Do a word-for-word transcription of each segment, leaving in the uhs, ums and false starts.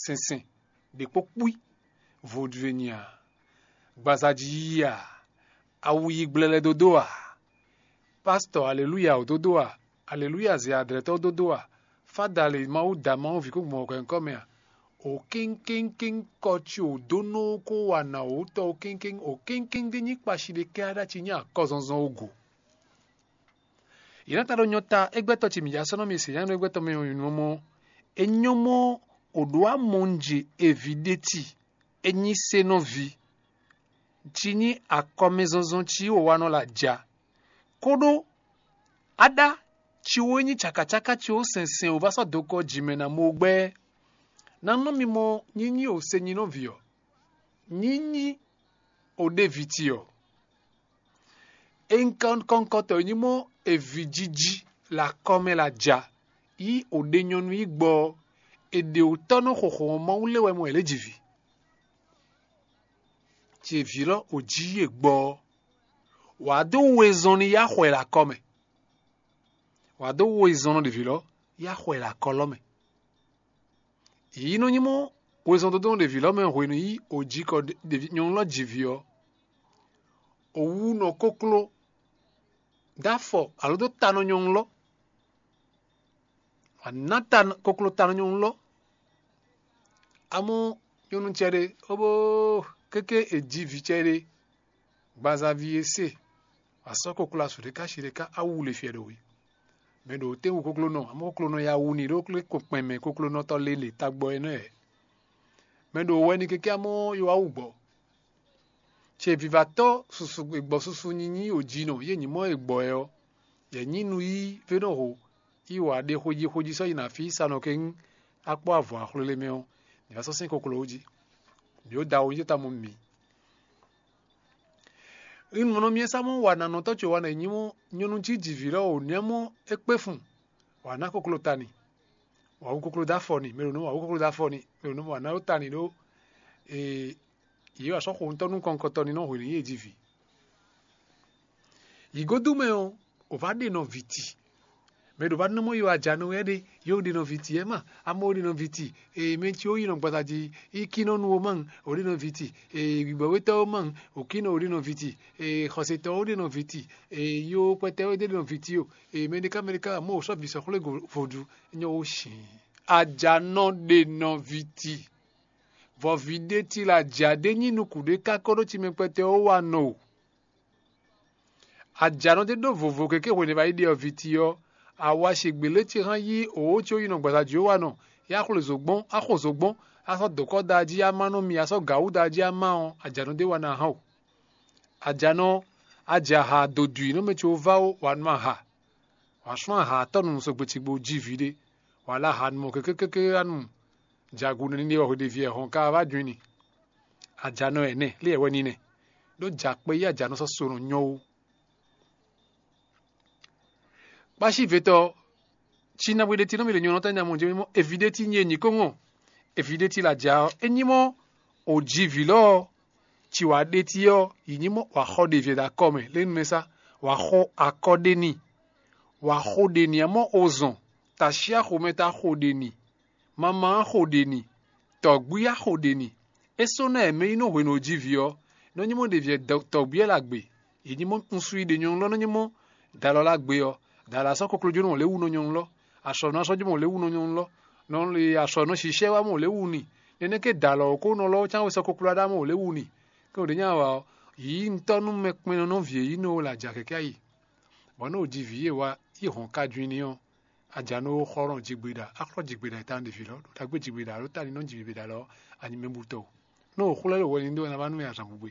sɛnsɛn ɖě kpó kpí, vodúnenya, gbazají yíyí a, awu yi gblɛlɛ dódó a, pásítɔ alelúya ò dódó a, alelúya zɛ adlɛtɔ́ dódó a, fádale Mawu da Mawu ví kó gbɔn hwɛ̌nkɔ́ mɛ a, o kéŋkéŋkéŋ kɔ ci o dó nɔ kó wa nǎ wǒ tɔ o kéŋkéŋ o kéŋkéŋ ɖé nyí kpashi ɖé kɛ aɖá ci nyí akɔzɔnzɔn o go. Yě ná ta ɖo nyɔ ta égbɛ́tɔ́ ce mǐ ya sɔ́ nɔ mi se nyánú égbɛ́tɔ́ mɛ ɔ́ nyɔ́mɔ́. É nyɔ́mɔ́ o ɖó amɔnje eví ɖé ti, é nyí senɔ́ví, ci nyí akɔmɛzɔnzɔn ci wǒ wa nɔ la ja. Kóɖó aɖá ci wǒ nyí cakacáká ci wǒ sɛnsɛn wǒ va sɔ́ dokɔ jǐ mɛ ná mɔ gbɛ́. Ná nɔ mi mɔ nyínyí o se nyí nɔ́ví ɔ́, nyínyí o ɖé vǐ ti ɔ́. Enkɔnkɔtɔ e nyí mɔ eví jiji le akɔ́ mɛ la ja, yí o ɖe nyɔnu yi gbɔ ɔ́, è ɖe wǔ tɔ́ nɔ xɔxɔ ɔ́ Mawu lé wɛ mɔ è lě ji vǐ. Ce vǐ lɔ o jí yě gbɔ ɔ́, wǎ dó wezɔn ní yá xɔ ɛ le akɔ́ mɛ. Wǎ dó wezɔn nɔ ɖě vǐ lɔ yá xɔ ɛ le akɔ́ lɔ mɛ. Yǐ nɔ nyí mɔ wezɔn dodó nɔ ɖě vǐ lɔ mɛ hwenu yí o jí kɔ ɖě nyɔ̌nu lɔ ji vǐ ɔ́, o wú nɔ kókló dó afɔ alo dó ta nɔ nyɔ̌nu lɔ. Wǎ ná ta koklo ta nɔ nyɔ̌nu lɔ. Amɔ̌ nyɔ̌nu cɛɖé, ó bó kéké è ji vǐ cɛɖé, gbazaví e se, wǎ sɔ́ koklo asu ɖé ká shi ɖé ká awu le fiɛ ɖo we. Mɛ ɖo tɛ́nwu koklónɔ, amɔ̌ koklónɔ ya wu ni ɖó kpɛn mɛ koklónɔtɔ́ lélě tagbɔ é nɔ ɛ. Mɛ ɖo wɛ ni kéké amɔ̌ yó wá wú gbɔ. Ce vivatɔ́ susu gbɔ susu nyinyi o jinɔ yě nyí mɔ e gbɔ ɛ ɔ́, yě nyí nu yí vénɔho yi wǎ ɖe xwejí xwejí sɔ́ yi na fí sanɔ kɛ́n akpɔ́ avɔ axwlélé mɛ ɔ́, ní wá sɔ́ sɛ́n koklo wú jí. Mǐ ó da wo nyí ta mɔ mǐ. Ínú mɔ nɔ mì e sá mɔ wa nanɔtɔ́ ce wa nɔ nyí mɔ nyɔnu cí jivǐ lɔ o nya mɔ é kpé fun, wǎ ná koklo ta ni, wǎ wú koklo dó afɔ ni, mɛ ɖo nɔ wǎ wú koklo dó afɔ ni, mɛ ɖo nɔ wǎ ná ɖó ta ni ɖó yě wǎ sɔ́ xo ŋutɔ́ nú kɔnkɔtɔ ni nɔ hwenu yě jivǐ. Yǐgódú mɛ ɔ́, o vǎ ɖe nɔ vǐ ti. Mɛ ɖo vǎ nɔ mɔ yi wá ja nɔ wɛ ɖe, yóò ɖe nɔ vǐ ti ɛ ma, amɔ ɖe nɔ vǐ ti. Ee, mɛ ci ó yi nɔ gbaza jí, í kí nɔ nu ó ma, o ɖe nɔ vǐ ti. Ee, gbígbɔwétɔ́ ó ma, o kí nɔ o ɖe nɔ vǐ ti. Ee, xɔsetɔ́ ó ɖe nɔ vǐ ti. Ee, yó kpɛtɛ ó ɖe nɔ vǐ ti o. Ee, mɛɖéká mɛɖéká mɔ o sɔ́ vǐ sɔ́ xwlé vodú, nyɔ ó sin. Ajanɔ ɖe nɔ vǐ ti. Vɔ vǐ ɖé ti la ja ɖé nyí nukún ɖé ká kɔ ɖó ci mɛ kpɛtɛ ó wa nɔ o. Ajǎnɔ ɖé ɖó vovo keke hwenu e va yi ɖe ɔ́ vǐ ti ɔ́, awa sigbě lé ce hán yí òwó ce ó yi nɔ gbasa jǐ ó wa nɔ, yá xwle zǒgbɔ́n, á xo zǒgbɔ́n, á sɔ́ dǒkɔ́ da jí á má nú mi, á sɔ́ gǎwú da jí á má ɔ́, ajǎnɔ ɖé wa ná hán o. Ajǎnɔ, a jɛ aha dodwǐ nú mɛ ce ó vá ó, wǎ nú aha. Wǎ sú aha atɔ́ nu sɔgbe cigbo jí vǐ ɖé, wǎ lɛ́ aha nu mɔ kékékéké wá nu jagun nɛní ɖé wɛ hweɖeví wɛ hɔn ka wá jɔ́n i ni. Ajǎnɔ ɛnɛ lé wɛ ní nɛ, ɖó jǎ kpé yí ajǎnɔ sɔ́ so nɔ nyɔ́ ó. Kpácívetɔ cí ná bwíɖétí nɔ mì ɖe nyɔ̌nɔ́ tɔn nya mɔ jɛ mɔ evidétí nyí enyi kó ŋɔ. Evidétí la ja ɔ́, é nyí mɔ òjivǐ lɔ ɔ́, ci wǎ ɖétí ɔ́, yi nyí mɔ wǎ xɔ ɖe vǐ ɖo akɔ mɛ lé nu mɛ sá, wǎ xɔ akɔ ɖe n'i, wǎ xo ɖe n'i amɔ ozɔn, tasyá xomɛ ta xo ɖe n'i, mama xo ɖe n'i, tɔ̌gbí á xo ɖe n'i. É sɔ́ ná ɛmɛ yi nɔ hwenu òjivǐ ɔ́, nɔ nyí mɔ ɖe vǐ tɔ̌gbí ɛ la gbe, yi nyí mɔ un su yi ɖe nyɔ̌nu lɔ nɔ nyí mɔ dalɔ la gbe ɔ́, dalɔ asɔ́ koklójónɔ lě wu nɔ nyɔ̌nu lɔ, asɔ̌nɔ asɔ́jɔmɔ lě wu nɔ nyɔ̌nu lɔ, nɔ asɔ̌nɔ sishɛ wá mɔ lě wu n'i. Nɛnɛ́ ké dalɔ ɔ́ kó nɔ lɔ cán wɛ sɔ́ kokló aɖá mɔ lě wu n'i. Ké wǒ ɖe nyí awa ɔ́, yǐ ŋutɔ́ nú mɛ kpɛnnɔ nɔví e yí nɔ la jɛ kɛkɛ́ yi. Bɔ nú òjivǐ e wá yi hɔn ka ju i ní ɔ́, a ja nú xɔ́ nɔ jigbeɖa, a xlɔ́ jigbeɖa e ta nɔ ɖe vǐ lɔ, ɖo ɖagbe jigbeɖa alo ta ní nɔ jigbeɖa lɔ, a nyí mɛ butɔ o. Nú o xlɛ́ ɖo hwɛ ní ɖó ná wá nú mɛ azǎn gbogbo.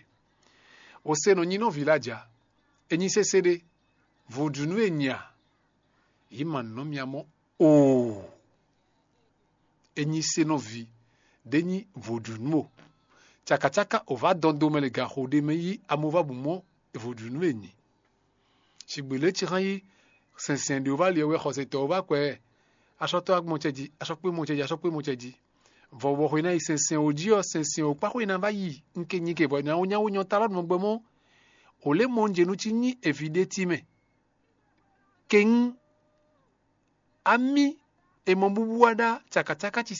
O se nɔ nyi nɔví lɛ a ja, e nyi sésé ɖé, vodúnú e nya, yǐ ma nǔ nɔ mia mɔ oo. E nyi se nɔví, ɖé nyí vodúnú o. Cakacáka o vǎ dɔn do mɛ le gaxo ɖé mɛ yí amovábǔ mɔ vodúnú e nyi. Sigbe lě ci xán yí sɛnsɛn ɖě wú va li ɔ́ wɛ xɔsetɔ́ wú va kɔ ɛ. Asɔtɔ́ agbɔn cɛ jí, asɔkpé mɔ cɛ jí, asɔkpé mɔ cɛ jí. Vɔ bɔ xwe ná yi sɛnsɛn wǒ jí ɔ́, sɛnsɛn wǒ kpá xwe ná va yi ŋke nyike vɔ nyawó nyawó nyɔ ta lɔ nɔ gbɛ mɔ. Ò lě mɔ un jě nú cí nyí eví ɖé tí mɛ. Kɛ́n amí è mɔ búbú wá ɖá cakacáká ci